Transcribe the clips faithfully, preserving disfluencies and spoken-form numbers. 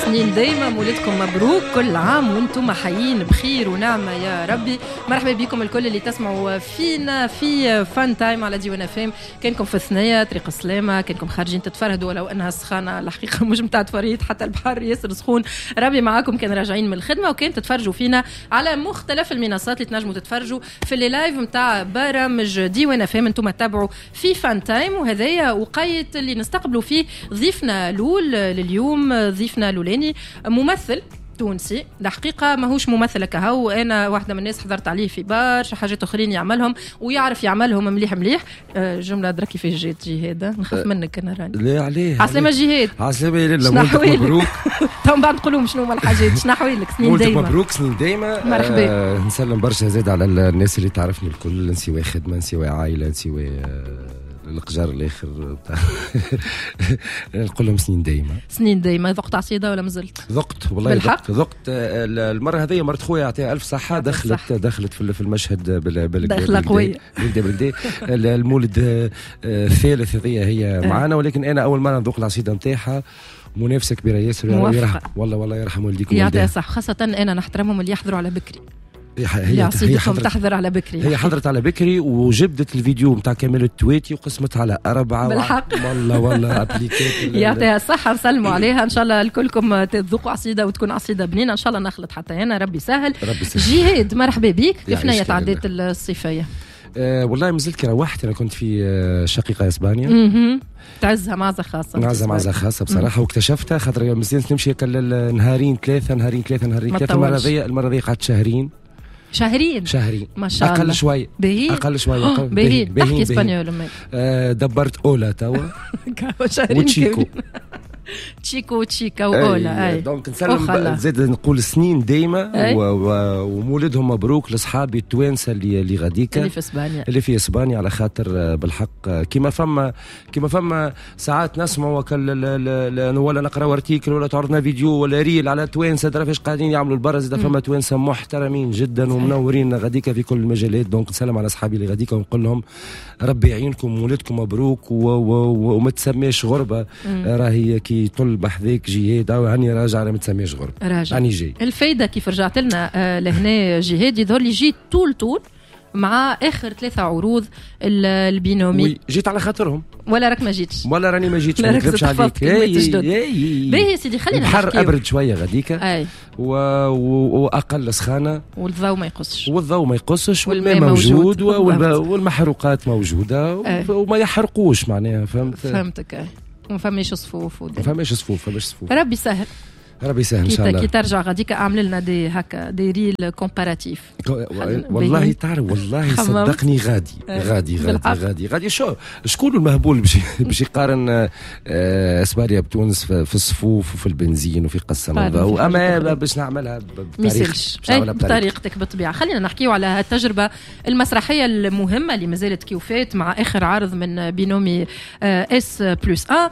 سنين دايما، مولدكم مبروك، كل عام وانتم حيين بخير ونعمه يا ربي. مرحبا بكم الكل اللي تسمعوا فينا في فان تايم على ديوان اف ام. كانكم في الثنية طريق السلامه، كانكم خارجين تتفرهدوا، ولو انها السخانه الحقيقة مش متاع تفريط، حتى البحر ياسر سخون. ربي معاكم كان راجعين من الخدمه، وكان تتفرجوا فينا على مختلف المنصات اللي تنجموا تتفرجوا في les lives نتاع برامج ديوان اف ام. انتم تتابعوا في فان تايم، وهذايا وقيت اللي نستقبلوا فيه ضيفنا لول لليوم. ضيفنا لولاني ممثل تونسي، الحقيقة ماهوش ممثل كهو، أنا واحدة من الناس حضرت عليه في برشا حاجات أخرين يعملهم ويعرف يعملهم مليح مليح. جملة درا كيفاش جات جهاد، نخاف منك أنا راني. لا عليه. عسلامة جهاد. عسلامة يا لاله، مولدك مبروك. تو من بعد نقولوا شنو هما الحاجات، شنو أحوالك؟ سنين دايما. مولدك مبروك، سنين دايما. مرحبا. آه نسلم برشا زاد على الناس اللي تعرفني الكل، نسوي خدمة، نسوي عائلة، نسوي القجار الاخر بتاع نقول لهم سنين دايما. سنين دايما. ذقت عصيده ولا مازلت؟ ذقت والله، ذقت ذقت المرة هذه. مرت خويا يعطيها الف صحة، دخلت دخلت في المشهد بال بال دخله قوية بالكدا. المولد الثالث هذه هي معانا، ولكن انا اول مرة نذوق العصيده نتاعها. منافسه كبيرة ياسر، يرحم والله والله يرحم والديكم. يعطيها صح، خاصة انا نحترمهم اللي يحضروا على بكري. هي هي حضرت تحضر على بكري، هي حضرت على بكري وجبدت الفيديو نتاع كمال التواتي وقسمت على أربعة. بالحق والله والله appliqué. يعطيها الصحة، نسلموا عليها. إن شاء الله الكلكم تذوقوا عصيدة وتكون عصيدة بنينة إن شاء الله. نخلط حتى أنا، ربي سهل. ربي سهل. جهاد مرحبا بك، كيف نية عدات الصيفية؟ أه والله مازلت كي روحت، أنا كنت في شقيقة إسبانيا. اها تعزها معزة خاصة. معزة معزة خاصة بصراحة، واكتشفتها خاطر مازلت نمشي نهارين ثلاثة نهارين ثلاثة نهارين ثلاثة. المرة ذي المرة ذي قعدت شهرين. شهرين شهرين ما شاء الله. اقل شوي، اقل شوي. باهي. تحكي espagnol؟ آه دبرت hola توا شهرين و chico chico chica و hola. اي donc نسلم زاد نقول سنين دايما ومولدهم مبروك لاصحابي التوانسة اللي اللي غاديكا، اللي في اسبانيا، اللي في اسبانيا، على خاطر بالحق كيما فما كيما فما ساعات نسمعوا ولا نقراو article ولا تعرضنا فيديو ولا reel على توانسة درا فاش قاعدين يعملوا البرا، زاد فما توانسة محترمين جدا ومنورين غاديكا في كل المجالات. donc نسلم على اصحابي اللي غاديكا ونقول لهم ربي يعينكم، ولدكم مبروك، وما تسميش غربه، راهي كي طل بحذاك جهاد او هاني راجع، ما تسميش غربه، راجع هاني جاي. الفايدة كيف رجعت لنا آه لهنا جهاد، يظهر لي جيت طول طول مع اخر ثلاثة عروض البينومي. جيت على خاطرهم ولا راك ما جيتش؟ ولا راني ما جيتش، ما نكذبش عليك. باهي يا سيدي، خلينا البحر ابرد شوية غاديكا و... و... واقل سخانه، والضوء ما يقصش، والضوء ما يقصش، والماء موجود، والب... والمحروقات موجودة، وما يحرقوش معناها. فهمت؟ فهمتك. اي ما فماش صفوف، ما فماش صفوف، فماش صفوف. ربي سهل، ربي يسهل ان شاء الله. كي ترجع غاديك اعمل لنا des هكا des reels comparatifs. والله تعرف والله صدقني غادي غادي غادي غادي غادي. شو شكون المهبول باش باش يقارن اسبانيا بتونس في الصفوف وفي البنزين وفي قسم الضوء؟ اما باش نعملها بطريقتك، بطريقتك بالطبيعة. خلينا نحكيو على التجربة المسرحية المهمة اللي مازالت كيوفات مع اخر عرض من بينومي S plus واحد.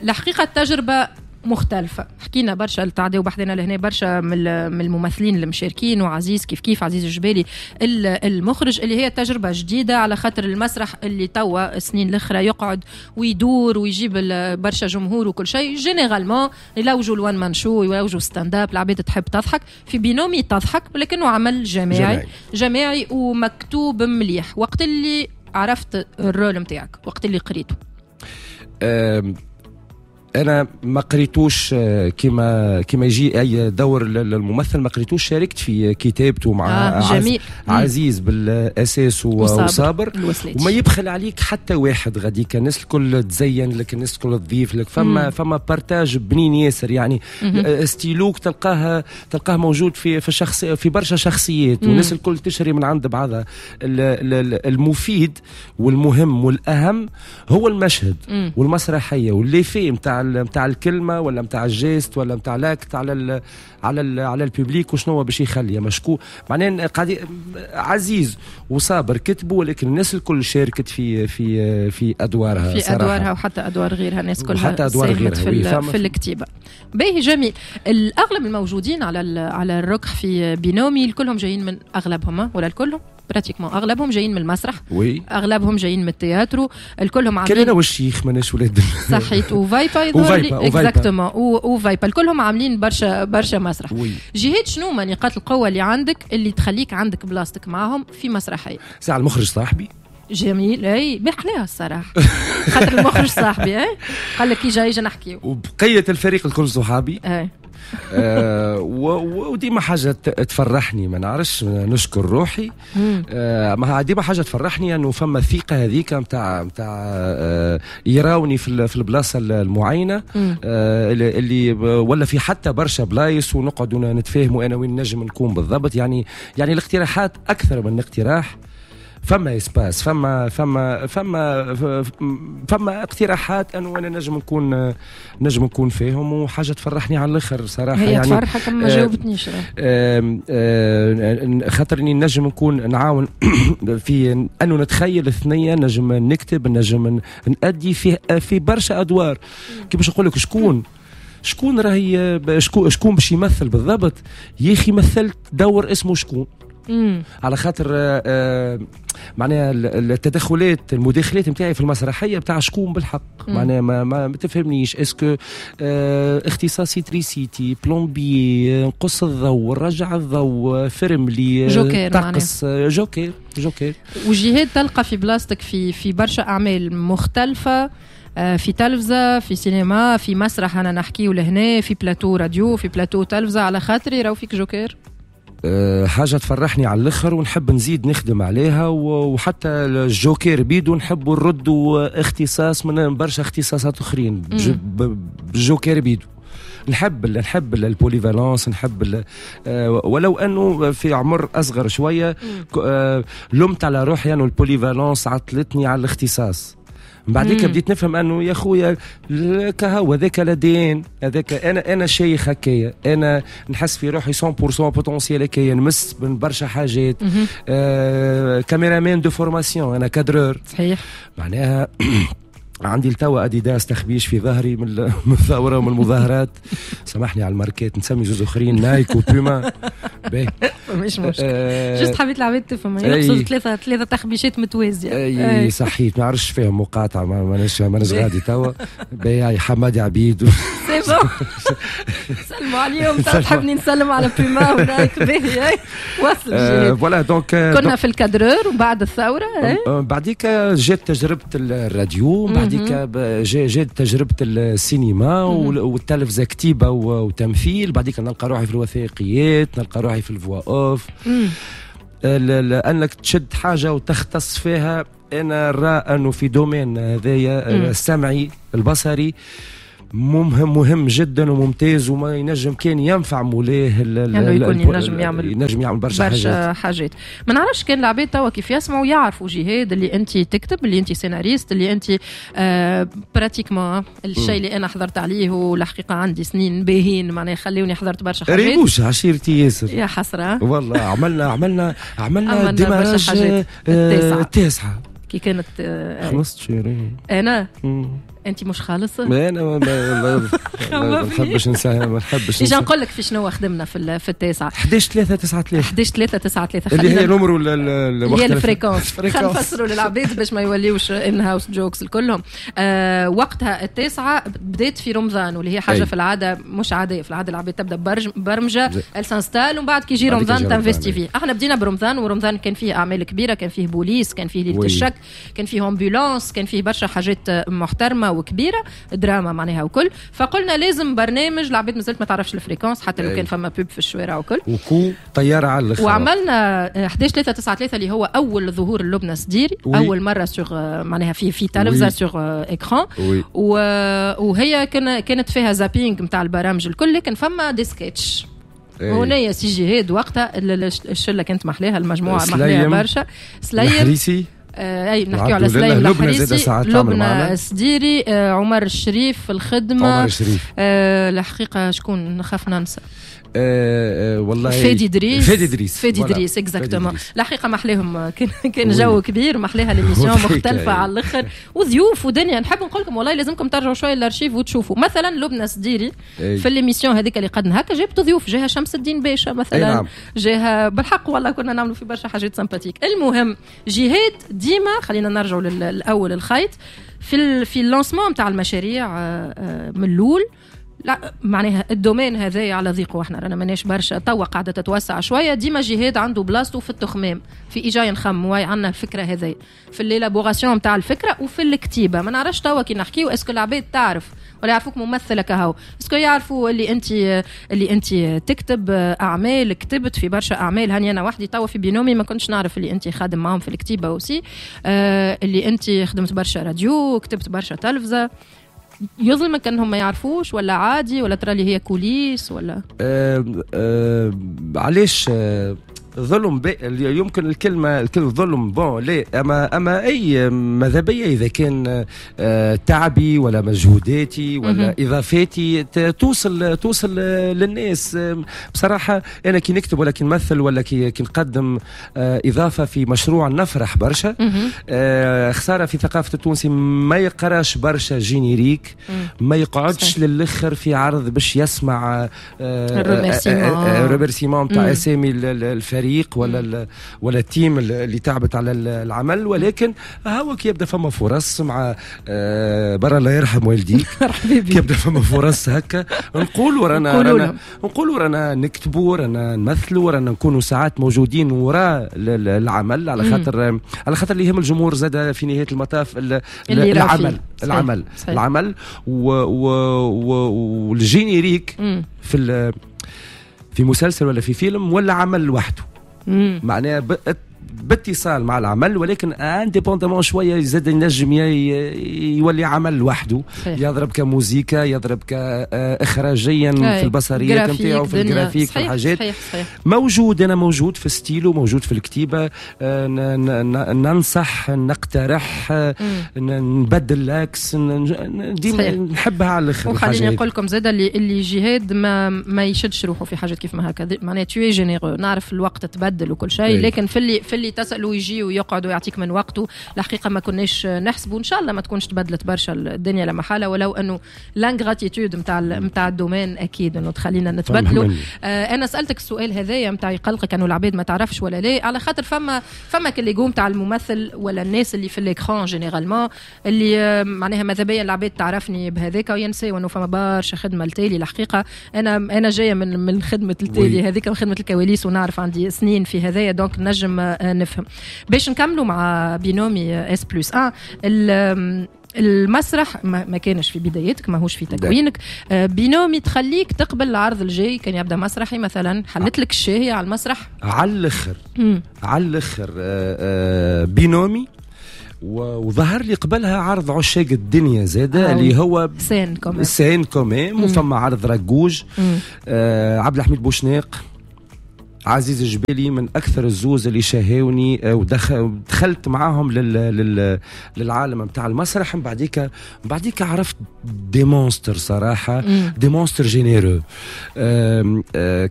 الحقيقة التجربة مختلفة، حكينا برشا تعداو بحذنا لهنا برشا من الممثلين المشاركين، وعزيز كيف كيف عزيز الجبالي المخرج، اللي هي تجربة جديدة على خاطر المسرح اللي توا السنين الأخرى يقعد ويدور ويجيب برشا جمهور وكل شيء. généralement يلوجوا ال one man show، يلوجوا stand-up، العباد تحب تضحك. في بينومي تضحك، ولكنه عمل جماعي جماعي, جماعي ومكتوب مليح. وقت اللي عرفت ال rôle متاعك، وقت اللي قريته؟ انا ما قريتوش كما كما يجي اي دور للممثل، ما قريتوش. شاركت في كتابته مع آه جميل. عزيز بالاساس وصابر، وما يبخل عليك حتى واحد غاديك، الناس الكل تزين لك، الناس الكل تضيف لك. فما مم. فما partage بنين ياسر يعني. مم. ستيلوك تلقاه تلقاه موجود في في شخص في برشا شخصيات، والناس الكل تشري من عند بعضها. المفيد والمهم والاهم هو المشهد مم. والمسرحيه واللي فيه نتاع نتاع الكلمة ولا نتاع ال geste ولا نتاع l'acte على ال على ال على ال public وشنو باش يخلي مشكو معناه. قاعد عزيز وصابر كتبوا، ولكن الناس الكل شاركت في في في ادوارها في صراحة. ادوارها وحتى ادوار غيرها، الناس كلها حتى ادوار غيرها في, في الكتيبة. باهي جميل. الاغلب الموجودين على على الركح في بينومي كلهم جايين من اغلبهم ولا الكلهم pratiquement اغلبهم جايين من المسرح، oui، اغلبهم جايين من التياترو، الكلهم كان عاملين انا والشيخ ماناش ولاد. صحيت، وفايبا يظهر لي. وفايبا، وفايبا. exactement، وفايبا الكلهم عاملين برشا برشا مسرح. oui. جهاد، شنو ما نقاط القوة اللي عندك اللي تخليك عندك بلاصتك معاهم في مسرحيه؟ ساعة المخرج صاحبي. جميل، اي بحلاها الصراحه، خاطر المخرج صاحبي، اي قال لك يجا يجا نحكيو. وبقية الفريق الكل صحابي. اي آه و- وديما حاجة ت- تفرحني، ما نعرفش نشكر روحي، آه ما ديما حاجة تفرحني انه فما الثقة هذيك نتاع نتاع آه يراوني في ال- في البلاصة المعينة آه اللي اللي ولا في حتى برشا بلايص، ونقعدوا نتفاهموا انا وين نجم نكون بالضبط. يعني يعني الاقتراحات اكثر من اقتراح، فما espace، فما فما فما فما اقتراحات انه انا نجم نكون نجم نكون فيهم، وحاجه تفرحني على الاخر صراحه. هي يعني تفرحك، ما آه، جاوبتنيش. آم، آم، خاطرني نجم نكون نعاون في انه نتخيل الثنيه، نجم نكتب، نجم نأدي في في برشا ادوار. كي باش نقول لك شكون شكون راهي شكون شكون باش يمثل بالضبط، يا اخي مثلت دور اسمه شكون، مم. على خاطر آه، آه، معناها ال- التدخلات، المداخلات نتاعي في المسرحية بتاع شكون بالحق. مم. معناها ما, ما, ما تفهمنيش est-ce que آه اختصاصي électricité، plombier، نقص الضوء، نرجع الضوء، فرملي، آه، جوكر. طقس، آه، joker joker. وجهاد، تلقى في بلاصتك في في برشا اعمال مختلفه، آه، في تلفزه، في سينما، في مسرح، انا نحكيو لهنا في بلاتو راديو، في بلاتو تلفزه، على خاطري راهو فيك جوكر. آه، حاجة تفرحني على الاخر ونحب نزيد نخدم عليها، وحتى الجوكر بيدو نحب نردوا اختصاص من برشا اختصاصات اخرين بجوكر بيدو. نحب نحب ال polyvalence، نحب، آه، ولو انه في عمر اصغر شوية آه، لمت على روحي انه ال polyvalence عطلتني على الاختصاص. من بعديك بديت نفهم انه يا خويا كهو هذاك l'ADN هذاك، انا انا شيخ هكايا، انا نحس في روحي مية بالمية potentiel هكايا، نمس من برشا حاجات. آه caméraman de formation، انا cadreur. صحيح معناها عندي التوا اديداس تخبيش في ظهري من من الثورة ومن المظاهرات. سامحني على الماركات، نسمي زوز اخرين، نايك وبوما. باهي، مش مشكل، آه juste حبيت العباد تفهم، نقصد ثلاثه ثلاثه تخبيشات متوازيه. اي صحيت، ما نعرفش فيهم مقاطعه، ماناش ماناش غادي توا. باهي، حمادي عبيد. c'est bon، سلموا عليهم. تحبني نسلم على بوما ونايك؟ باهي، وصل. voilà donc كنا في ال cadreur وبعد الثوره. بعديك جات تجربه الراديو، بعديك جات تجربه السينما والتلفزه، كتيبة وتمثيل. بعديك نلقى روحي في الوثائقيات، نلقى روحي في ال voix off. انك تشد حاجة وتختص فيها، انا نرى انه في domaine هذايا السمعي البصري مهم مهم جدا وممتاز، وما ينجم كان ينفع مولاه. يعني يكون ينجم يعمل ينجم يعمل برشا, برشا حاجات. حاجات. ما نعرفش كان العباد توا كيف يسمعوا يعرفوا جهاد اللي انت تكتب، اللي انت سيناريست، اللي انت آه pratiquement الشيء اللي انا حضرت عليه، والحقيقة عندي سنين باهين، معناها خليوني حضرت برشا حاجات. ريبوش عشيرتي ياسر. يا حسره. والله عملنا عملنا عملنا, عملنا برشا حاجات. التاسعه التاسعه. كي كانت آه خلصت شيرين. انا انت مش خالصه. ما انا ما ما ما نحبش ننسى، ما نحبش. اجا نقول لك في شنو خدمنا في في التاسعه. حداش ثلاثة تسعة ثلاثة. حداش ثلاثة تسعة ثلاثة. اللي هي numéro اللي هي ال fréquence. خلينا نفسروا للعباد باش ما يوليوش in-house jokes الكلهم. آه وقتها التاسعة بدات في رمضان، واللي هي حاجة أي. في العادة مش عاديه. في العادة العباد تبدا برمجه، elle s'installe، ومن بعد كي يجي رمضان t'investis فيه. احنا بدينا برمضان، ورمضان كان فيه اعمال كبيره، كان فيه بوليس، كان فيه ليلة الشك، كان فيه ambulance، كان فيه برشا حاجات محترمه وكبيره، دراما معناها وكل. فقلنا لازم برنامج، العباد مازالت ما تعرفش ال fréquence، حتى لو كان فما pub في الشوارع وكل. وكو طيارة على الاخر. وعملنا حداش ثلاثة تسعة ثلاثة اللي هو اول ظهور لبنى سديري، اول مرة sur معناها في في تلفزه sur écran، وهي كان كانت فيها zapping نتاع البرامج الكل، لكن فما des sketchs. هنا يا سي جهاد، وقتها الشلة كانت محلاها، المجموعة محلاها برشا. سليم. آه اي نحكيو على سليم الحريصي، لبنى السديري، آه عمر الشريف في الخدمة، عمر الشريف، آه الحقيقة شكون نخاف ننسى، آه آه والله فادي دريس، فادي دريس، فادي دريس exactement. الحقيقة ما احلاهم، كان كان جو كبير، ما احلاها l'émission مختلفة على الاخر وضيوف ودنيا. نحب نقول لكم والله لازمكم ترجعوا شوية للارشيف وتشوفوا مثلا لبنى السديري في l'émission هذيك اللي قدنا هكا جابت ضيوف، جاها شمس الدين باشا مثلا، نعم. جاها بالحق والله كنا نعملوا في برشا حاجات sympathiques. المهم جهاد ديما، خلينا نرجعوا للاول الخيط في في ال lancement نتاع المشاريع من الاول، لا معناها ال domaine هذايا على ضيقه، احنا رانا ماناش برشا، توا قاعدة تتوسع شوية. ديما جهاد عنده بلاصته في التخمام، في ايجاي نخمم عندنا الفكرة هذايا في l'élaboration نتاع الفكرة وفي الكتيبة. ما نعرفش توا كي نحكيو est-ce que العباد تعرف ولا يعرفوك ممثلة كهو، est-ce que يعرفوا اللي انت اللي انت تكتب اعمال، كتبت في برشا اعمال. هاني انا وحدي توا في بينومي ما كنتش نعرف اللي انت خادم معاهم في الكتيبة aussi، آه اللي انت خدمت برشا راديو، كتبت برشا تلفزه. يظلمك انهم ما يعرفوش ولا عادي ولا ترى اللي هي coulisses ولا؟ أه أه علاش أه ظلم؟ يمكن الكلمة الكلمة ظلم bon لا، اما اما اي ماذا بيا اذا كان تعبي ولا مجهوداتي ولا اضافاتي توصل توصل للناس. بصراحة انا كي نكتب ولا كي نمثل ولا كي نقدم اضافه في مشروع نفرح برشا. خسارة في ثقافة التونسي ما يقراش برشا générique، ما يقعدش للاخر في عرض باش يسمع remerciements تاع اسامي الفريق ولا ولا ال team اللي تعبت على العمل. ولكن هو كي يبدا فما فرص مع برا الله يرحم والديك، كي يبدا فما فرص هكا نقولوا رانا رانا نقولوا رانا نكتبوا، رانا نمثلوا، رانا نكونوا ساعات موجودين وراء العمل، على خاطر على خاطر اللي يهم الجمهور زاد في نهاية المطاف العمل العمل العمل وال générique في في مسلسل ولا في فيلم ولا عمل لوحده، معناها باتصال مع العمل، ولكن indépendamment شوية زاد ينجم يولي عمل لوحده، يضرب كموزيكا، يضرب كاخراجيا في البصريات نتاعو، في الجرافيك، في الحاجات. صحيح صحيح. موجود، انا موجود في ستيلو، موجود في الكتيبة، ننصح، نقترح، نبدل l'axe، ديما نحبها على الاخر. وخليني نقول لكم زاد اللي اللي جهاد ما ما يشدش روحه في حاجات كيف ما هكا، معناها tu es généreux، نعرف الوقت تبدل وكل شيء، لكن في اللي في اللي تسأله يجي ويقعد ويعطيك من وقته. الحقيقة ما كناش نحسبوا، إن شاء الله ما تكونش تبدلت برشا الدنيا لما حالة، ولو أنه l'ingratitude نتاع نتاع ال domaine أكيد أنه تخلينا نتبدلوا. آه أنا سألتك السؤال هذايا نتاع يقلقك أنه العباد ما تعرفش ولا لا، على خاطر فما فما كل l'ego نتاع الممثل ولا الناس اللي في l'écran généralement اللي معناها ماذا بيا العباد تعرفني بهذاك وينساو أنه فما برشا خدمة التالي. الحقيقة أنا أنا جاية من من خدمة التالي هذيك، من خدمة الكواليس، ونعرف عندي سنين في هذايا، donc نجم نفهم. باش نكملوا مع بينومي S plus واحد، المسرح ما كانش في بدايتك، ماهوش في تكوينك. بينومي تخليك تقبل العرض الجاي كان يبدا مسرحي مثلا، حلت لك الشهية على المسرح؟ على الاخر، على الاخر. بينومي وظهر لي قبلها عرض عشاق الدنيا زاده اللي هو scène quand même، scène quand même، وفما عرض رجوج، آه عبد الحميد بوشناق، عزيز الجبالي، من اكثر الزوز اللي شاهوني ودخلت معاهم لل... لل... للعالم نتاع المسرح. من بعديك بعديك عرفت des monstres صراحة، des monstres généreux.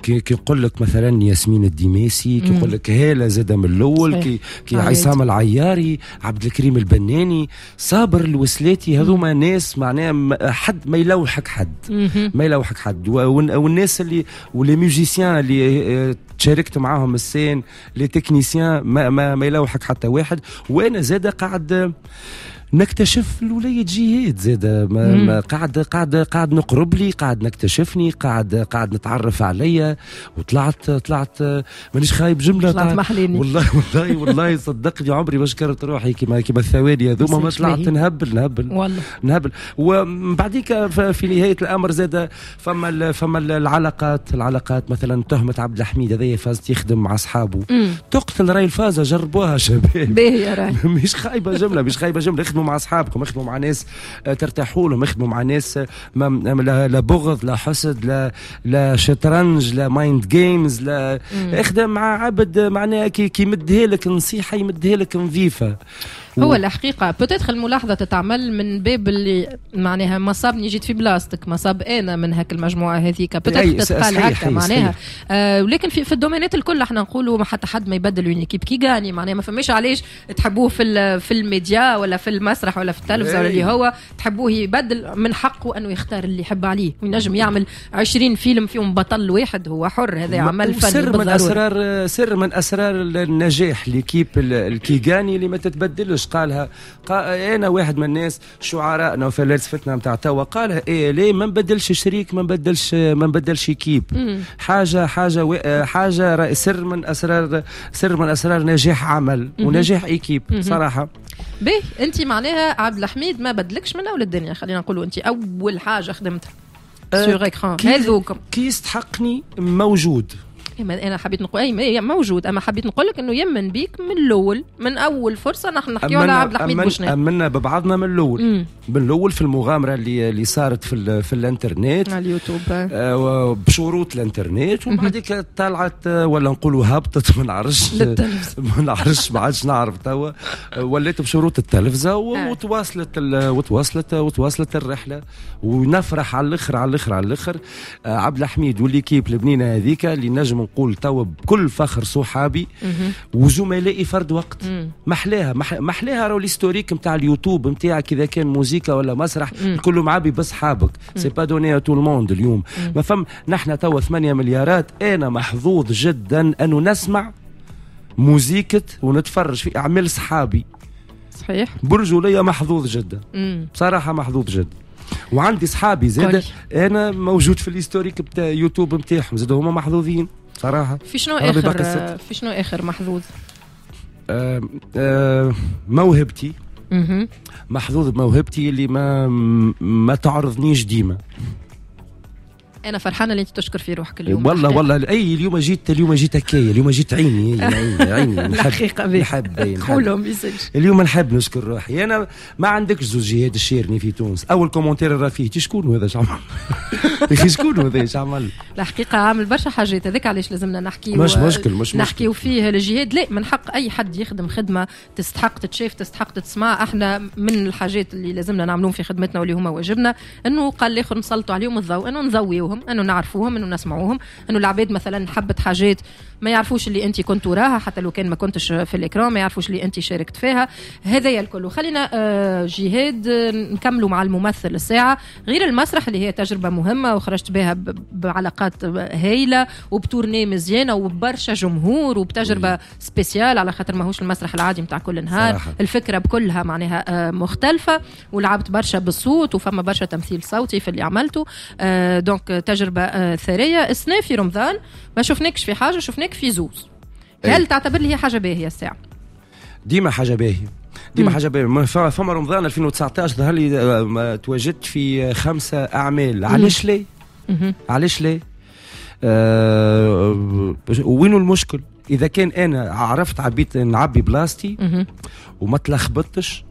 كي نقول لك مثلا ياسمين الديماسي، كي نقول لك هاله زاده من الاول، كي كي عصام العياري، عبد الكريم البناني، صابر الوسلاتي، هذوما ناس معناها حد ما يلوحك حد، ما يلوحك حد. والناس اللي و les musiciens اللي شاركت معاهم ال scène، les techniciens، ما, ما, ما يلوحك حتى واحد. وانا زاد قاعد نكتشف الولاية جهاد زاد، ما ما قاعد قاعد قاعد نقرب لي، قاعد نكتشفني، قاعد قاعد نتعرف عليا، وطلعت طلعت مانيش خايب جملة، طلعت محليني والله والله والله صدقني عمري ما شكرت روحي كيما كيما الثواني هذوما، ما طلعت نهبل نهبل والله نهبل. ومن بعديك في نهاية الامر زاد فما فما العلاقات، العلاقات مثلا تهمه عبد الحميد هذايا فاز يخدم مع اصحابه، تقتل راي الفازة، جربوها شباب باهي راي مش خايبة جملة، مش خايبة جملة، يخدموا اخدموا مع اصحابكم، اخدموا مع ناس آه، ترتاحوا لهم، اخدموا مع ناس آه، ما لا, لا بغض لا حسد لا لا شطرنج لا mind games، لا اخدم مع عبد معناها كي كي يمدها لك نصيحة يمدها لك نظيفة. هو الحقيقة peut-être الملاحظة تتعمل من باب اللي معناها ما صابني جيت في بلاصتك، ما صاب انا من هاك المجموعة هذيك peut-être تتقال هكا معناها. آه ولكن في, في ال domaine ات الكل احنا نقولوا ما حتى حد ما يبدل une équipe qui gagne، معناها ما فماش علاش تحبوه في في الميديا ولا في المسرح ولا في التلفزة ولا اللي هو تحبوه يبدل، من حقه انه يختار اللي يحب عليه وينجم يعمل عشرين فيلم فيهم بطل واحد، هو حر، هذا عمل فني. سر من اسرار سر من اسرار النجاح l'équipe qui gagne اللي ما تتبدلش. قالها قال انا واحد من الناس شعرائنا وفلاسفتنا نتاع توا قالها ايه ليه ما نبدلش شريك، ما نبدلش ما نبدلش équipe. حاجة حاجة حاجة سر من اسرار سر من اسرار نجاح عمل ونجاح équipe صراحة. باهي، انت معناها عبد الحميد ما بدلكش من اول الدنيا، خلينا نقولوا انت اول حاجة خدمتها sur écran هذوكم. كي يستحقني موجود. انا حبيت نقول اي موجود، اما حبيت نقول لك انه يمن بيك من الاول، من اول فرصة نحن نحكيو على عبد الحميد بوشناق. امنا ببعضنا من الاول، من الاول في المغامرة اللي اللي صارت في في الانترنت على اليوتيوب آه بشروط الانترنت، وبعد طلعت ولا نقولوا هبطت ما نعرفش ما نعرفش ما عادش نعرف توا، ولات بشروط التلفزة وتواصلت وتواصلت وتواصلت الرحلة. ونفرح على الاخر على الاخر على الاخر آه عبد الحميد و l'équipe البنينه هذيك اللي نجم نقول توا بكل فخر صحابي وزملائي فرد وقت. محلاها محلاها راهو l'historique نتاع اليوتيوب نتاعك اذا كان موزيكا ولا مسرح كله معبي بصحابك، c'est pas donné à tout le monde اليوم. ما فم نحن توا ثمانية مليارات، انا محظوظ جدا انه نسمع موزيكة ونتفرج في اعمال صحابي. صحيح، برجولية محظوظ جدا. مم. بصراحة محظوظ جدا، وعندي صحابي زاد انا موجود في l'historique بتاع يوتيوب نتاعهم زاد هما محظوظين صراحة. في شنو اخر في شنو اخر محظوظ؟ آه آه موهبتي. محظوظ بموهبتي اللي ما ما تعرضنيش ديما. انا فرحانة اللي انت تشكر في روحك اليوم. والله والله اي اليوم جيت اليوم جيت هكايا، اليوم جيت عيني عيني عيني الحقيقة نحب قولهم يسالش. اليوم نحب نشكر روحي. انا ما عندكش زوج جهاد الشيرني في تونس، اول commentaire راه فيه شكون هذا اش عمل؟ يا شكون هذا اش عمل؟ الحقيقة عامل برشا حاجات، هذاك علاش لازمنا نحكيو. مش مشكل مش مشكل نحكيو فيه الجهاد. لا من حق اي حد يخدم خدمة تستحق تتشاف تستحق تتسمع. احنا من الحاجات اللي لازمنا نعملوهم في خدمتنا واللي هما واجبنا انه قال الاخر نسلطوا عليهم الضوء، انه نضويوهم، انه نعرفوهم، انه نسمعوهم، انه العباد مثلا حبت حاجات ما يعرفوش اللي انت كنت وراها حتى لو كان ما كنتش في l'écran، ما يعرفوش اللي انت شاركت فيها. هذايا الكل. خلينا جهاد نكملوا مع الممثل الساعة غير المسرح اللي هي تجربه مهمة وخرجت بها بعلاقات هايلة وب tournée مزيانه وبرشا جمهور وبتجربه spéciale على خاطر ماهوش المسرح العادي نتاع كل نهار. صراحة. الفكرة بكلها معناها مختلفة ولعبت برشا بالصوت وفما برشا تمثيل صوتي في اللي عملته، donc تجربه ثرية. السنة في رمضان ما شفناكش في حاجة، شفناك في زوز. هل تعتبر لي هي حاجة باهيه الساعة؟ ديما حاجة باهيه، ديما حاجة باهيه. فما رمضان ألفين وتسعطاش ظهر لي تواجدت في خمسة اعمال. علاش ليه؟ علاش ليه؟ أه وينو المشكل؟ اذا كان انا عرفت عبيت نعبي بلاصتي وما تلخبطتش،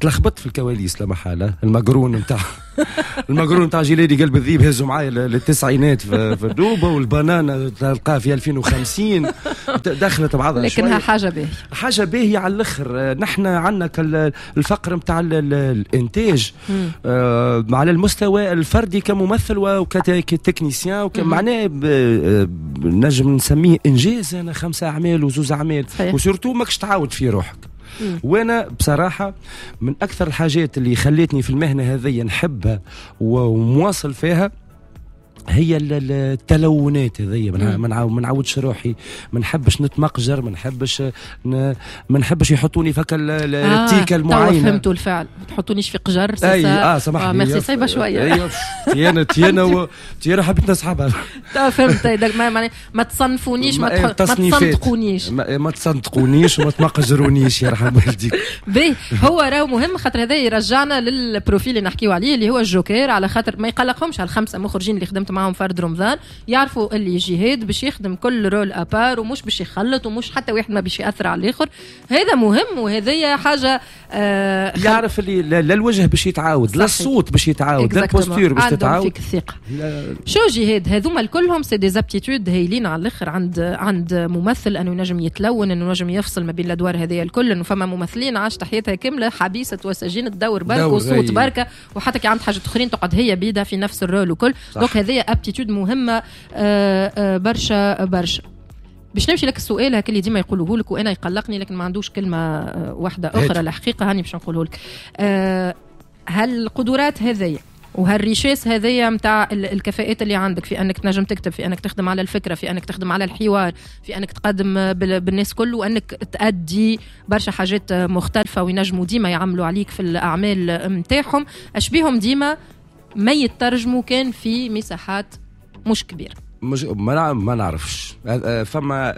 تلخبطت في الكواليس لا محالة. المقرون نتاع المقرون نتاع جيلاني قلب الذيب هزوا معايا للتسعينات في الدوبه، والبنانه تلقاها في ألفين وخمسين دخلت بعضها. لكنها حاجة باهيه، حاجة باهيه على الاخر. نحن عندنا الفقر نتاع الانتاج آه على المستوى الفردي كممثل وك technicien، معناه نجم نسميه انجاز. انا خمسة اعمال وزوز اعمال، و surtout ماكش تعاود في روحك. وانا بصراحة من اكثر الحاجات اللي خلتني في المهنة هذه نحبها ومواصل فيها هي التلونات هذيا. ما نعاودش روحي، ما نحبش نتمقجر، ما نحبش ما نحبش يحطوني فك التيكه المعينة. آه فهمتوا الفعل، ما تحطونيش في قجر. اي اه سامحني، ميرسي صعيبة شوية. ايوه تيانا تيانا تيانا حبيت نسحبها. فهمت، ما ما تصنفونيش، ما تصندقونيش، ما تصندقونيش وما تمقجرونيش يرحم والديك. باهي، هو راهو مهم خاطر هذا يرجعنا لل profil اللي نحكيو عليه اللي هو الجوكر، على خاطر ما يقلقهمش هالخمسه مخرجين اللي خدمت معهم فرد رمضان يعرفوا اللي جهاد باش يخدم كل rôle à part ومش باش يخلط ومش حتى واحد ما باش ياثر على الاخر. هذا مهم وهذه حاجة آه يعرف اللي لا الوجه باش يتعاود، لا الصوت باش يتعاود، لا ال posture باش تتعاود. فيك الثقة. شو جهاد هذوما كلهم c'est des aptitudes هايلين على الاخر عند عند ممثل، انه ينجم يتلون، انه ينجم يفصل ما بين الادوار هذه الكل. انه فما ممثلين عاشت حياتها كاملة حبيسة وسجينه دور برك وصوت بركة، وحتى كي عند حاجة اخرين تقعد هي بيدها في نفس ال rôle وكل. donc هذه aptitude مهمة برشا برشا. باش نمشي لك السؤال هكا اللي ديما يقولوه لك وانا يقلقني لكن ما عندوش كلمة واحدة اخرى الحقيقة، هاني باش نقوله لك. هل القدرات هذيا وهال richesse هذيا نتاع الكفاءات اللي عندك في انك تنجم تكتب، في انك تخدم على الفكرة، في انك تخدم على الحوار، في انك تقدم بالناس كل، وانك تأدي برشا حاجات مختلفة وينجموا ديما يعملوا عليك في الاعمال نتاعهم، اشبيهم ديما ما يترجموا كان في مساحات مش كبيرة؟ مش ما ما نعرفش. فما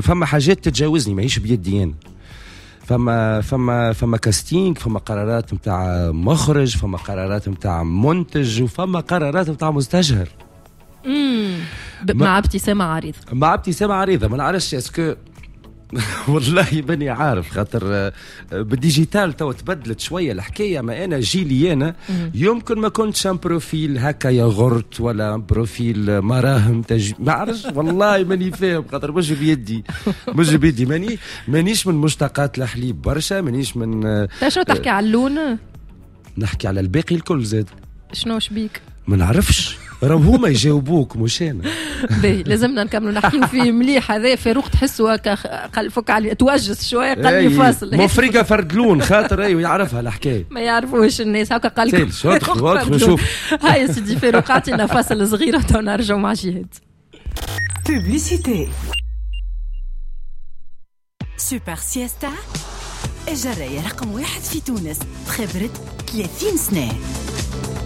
فما حاجات تتجاوزني ماهيش بيدي انا. فما فما فما casting، فما قرارات نتاع مخرج، فما قرارات نتاع منتج، وفما قرارات نتاع مستشهر. امم مع ابتسامة عريضة، مع ابتسامة عريضة. ما نعرفش est-ce que والله ماني عارف، خاطر بال digital تو تبدلت شوية الحكاية. ما انا جيلي انا يمكن ما كنتش un profil هكا ياغورت ولا un profil مراهم تج... ما عرفش والله ماني فاهم، خاطر مش بيدي مش بيدي ماني مانيش من مشتقات الحليب برشا، مانيش من. شنو تحكي على اللون؟ نحكي على الباقي الكل زاد. شنو شبيك؟ ما نعرفش، راهم هما يجاوبوك مش انا. باهي لازمنا نكملوا نحكيو فيه مليح. هذا فاروق تحسه هكا قال فك علي توجس شوية قال لي فاصل مفرقه فرد لون خاطر ايوه يعرفها الحكاية، ما يعرفوش الناس هكا قال لك. نشوف هاي سيدي فاروق اعطينا فاصل صغير ونرجعوا مع جهاد. publicité سوبر سياستا الجرايه رقم واحد في تونس بخبره ثلاثين سنة.